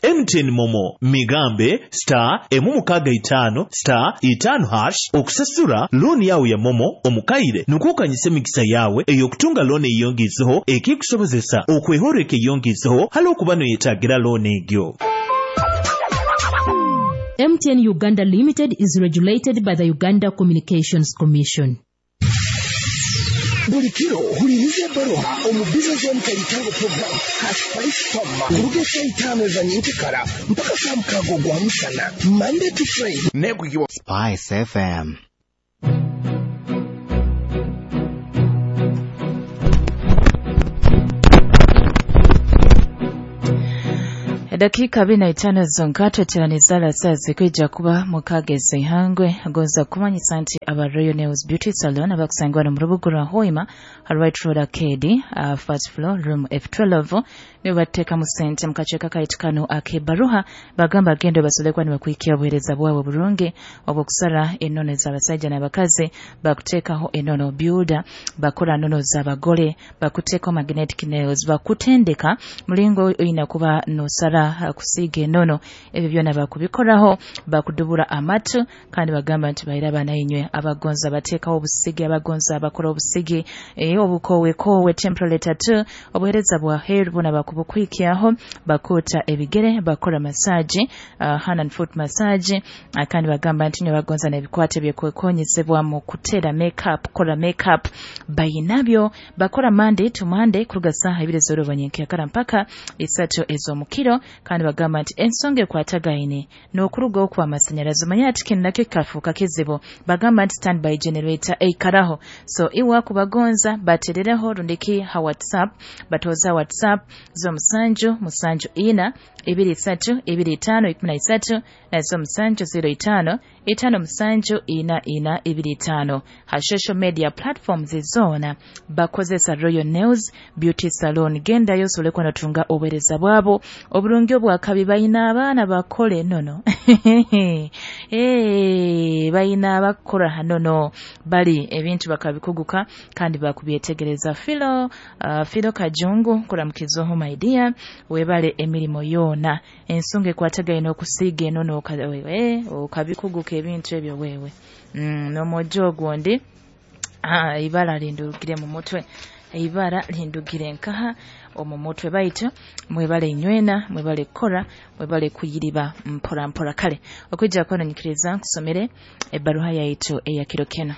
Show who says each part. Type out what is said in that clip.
Speaker 1: MTN MoMo migambe star 655 star 5 hash okusasura looni yawe ya MoMo omukaire nukwo okanyisa emikisa yawe ey'okutunga looni eyongizeho ekikusobozesa okwehoreka eyongizeho hali okuba noyetagira looni egyo.
Speaker 2: MTN Uganda Limited is regulated by the Uganda Communications Commission.
Speaker 3: Buli kiro huliriza ebbaruha omu Business Zone Kaitango program ha Spice Farm kuruga saa 5 za nyenkekara mpaka saa 6 ogwa musana, Monday to Friday.
Speaker 4: Negugiwa
Speaker 5: Spice FM.
Speaker 6: Dakika 45 zonka tweteraniza saa zikwija kuba mukageze ihangwe agonza kumanyisa nti aba Royal Nails Beauty Salon abakusangwa no mu rubuga rwa Hoima Right Road Arcade, first floor room F12 nibo bateekamu sente mu kaceeka kaitu kano ak'ebbaruha bagamba gendo basobole nibakuhikia obuheereza bwabwe burungi obw'okusara enono z'abasajja n'abakazi, bakuteekaho enono builder, bakora nono z'abagole, bakuteekaho magnetic nails, bakutendeka mulingo oyina kuba nosara kusiiga enono, ebyo byona bakubikoraho, bakudubura amatu kandi bagamba nti bahira abaana inywe abagonza bateekaho obusigi, abagonza abakora obusigi, obukowekowe temporary tattoo, obuheereza bwa hair buna bakubukwikyaho, bakuta ebigere, bakora massage, hand and foot massage, kandi bagamba nti nywe bagonza n'ebikwate byekwekonyezebwa mu kuteera makeup, kora makeup bayinabyo, bakora Monday to Monday kuruga saha 2 z'orubanyinki nkeakara mpaka 3 ez'omukiro kandi bagamba nti ensonga ekwatagaine n'okuruga okwa amasanyalazi manya ati kino nakyo kikafuuka kizibu, bagamba nti standby generator eikaraho, so iwa kubagonza baterereho rundiki ha WhatsApp, batoza WhatsApp zo 7 7 4 2 3 2 5 13 na zo 7 05 5 7 4 4 2 5 ha social media platforms zona bakozesa Royal Nails Beauty Salon. Genda yosobole kuba notunga obuheereza bwabo oburungi obwakabi, bayina abaana bakole nono bayina abakora hanono bali ebintu bakabikuguka kandi bakubyetegereza. Filo Filo Kajungu kuramukizoho my dear, webale emirimo yona ensonga ekwatagaine okusiiga enono okabikuguka ebintu ebyo wewe n'omwojo ogundi ibara lindugire mu mutwe, ibara lindugire nkaha omu mutwe baitu mwebale inywena, mwebale kora, mwebale kuyiriba mpora mpora. Kale okwijja kwano nyikiriza nkusomere ebbaruha yaitu eya kiro keno.